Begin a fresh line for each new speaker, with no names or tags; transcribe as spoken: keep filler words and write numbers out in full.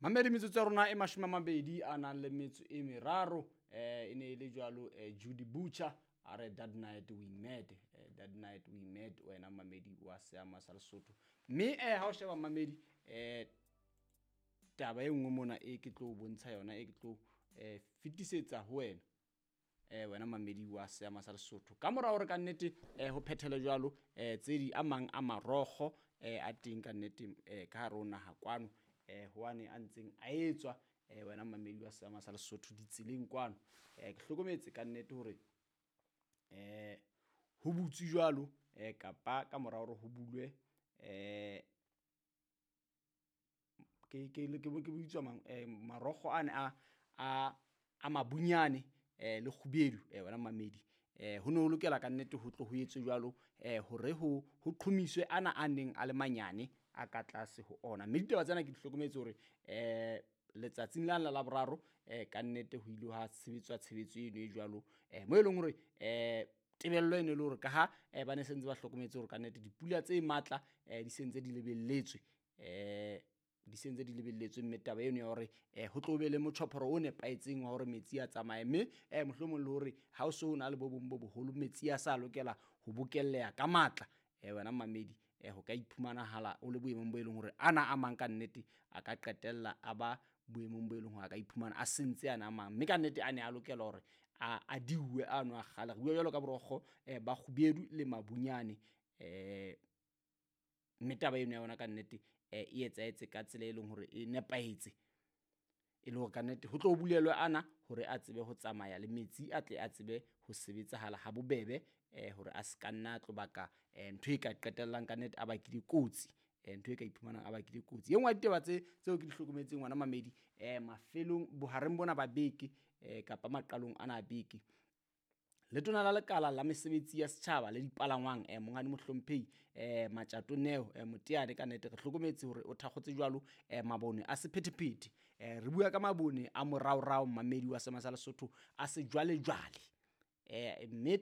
Mamedi, metsotso ya rona e mashome a mabedi a nang le metso e meraro. eh e ne e le jwalo, eh, Judy Butcher a re "That Night We Met". eh, "That Night We Met", wena mamedi wa seama sa Lesotho. Mme eh ha o sheba, mamedi, eh taba e nngwe mona e ke tlo bontsha yona, e ke tlo eh fetisetsa ho wena, eh wena mamedi wa seama sa Lesotho, ka mora hore ka nnete eh ho phethele jwalo eh tse di a mang a marokgo eh a teng ka nnete eh ka hare ho naha kwano, eh ho ane a ntseng a etswa, eh wena mamedi wa seama sa Lesotho, ditseleng kwano, eh ke hlokometse ka nnete hore eh ho butswe jwalo, eh kapa ka mora hore ho bulwe eh ke ke ke ke bitswa mang, eh marokgo ane a a a mabunyane eh le kgubedu, eh wena mamedi, eh ho no ho lokela ka nnete ho tlo ho etswe jwalo, eh hore ho ho qhomiswe ana a neng a le manyane a ka tlase ho ona. Mme ditaba tsena ke di hlokometse hore eh letsatsing la la Laboraro eh ka nnete ho ile ha sebetswa tshebetso eno e jwalo, eh mo e leng hore eh tebello e ne le hore ka ha eh ba ne se ntse ba hlokometse hore ka nnete dipula tse matla eh di sentse di lebelletswe, eh di sentse di lebelletswe. Mme taba eno ya hore eh ho tlo be le motjhophoro o nepahetseng wa hore metsi a tsamaye, mme eh mohlomong le hore ha o so na le bo bong bo boholo, metsi a sa lokela ho bokelleha ka matla, eh wena mamedi, eh ho ka iphumanahala o le boemong bo e leng hore ana a mang ka nnete a ka qetella a ba boemong bo e leng hore a ka iphumana a sentse ana a mang. Mme ka nnete a ne a lokela hore a a diuwe ano a kgale. Re bua jwalo ka borokgo eh ba kgubedu le mabunyane. eh Mme taba eno ya yona ka nnete eh e etsahetse ka tsela e leng hore e nepahetse, e le hore ka nnete ho tlo bulelwa ana hore a tsebe ho tsamaya le metsi, a tle a tsebe ho sebetsahala ha bobebe, eh hore a se ka nna a tlo baka eh ntho e ka qetellang ka nnete a bakile kotsi, eh ntho e ka iphumanang a bakile kotsi. E nngwe ya ditaba tse tseo ke di hlokometseng, ngwana mamedi, eh mafelong bohareng bona ba beke, eh kapa maqalong ana a beke, letona la lekala la mesebetsi ya setjhaba le dipalangwang, eh monghadi mohlomphehi eh Matjato Neo eh Moteane, ka nnete re hlokometse hore o thakgotse jwalo eh mabone a sephethephethe. eh re bua ka mabone a moraorao, mamedi wa sema sa Lesotho, a sejwalejwale, eh mme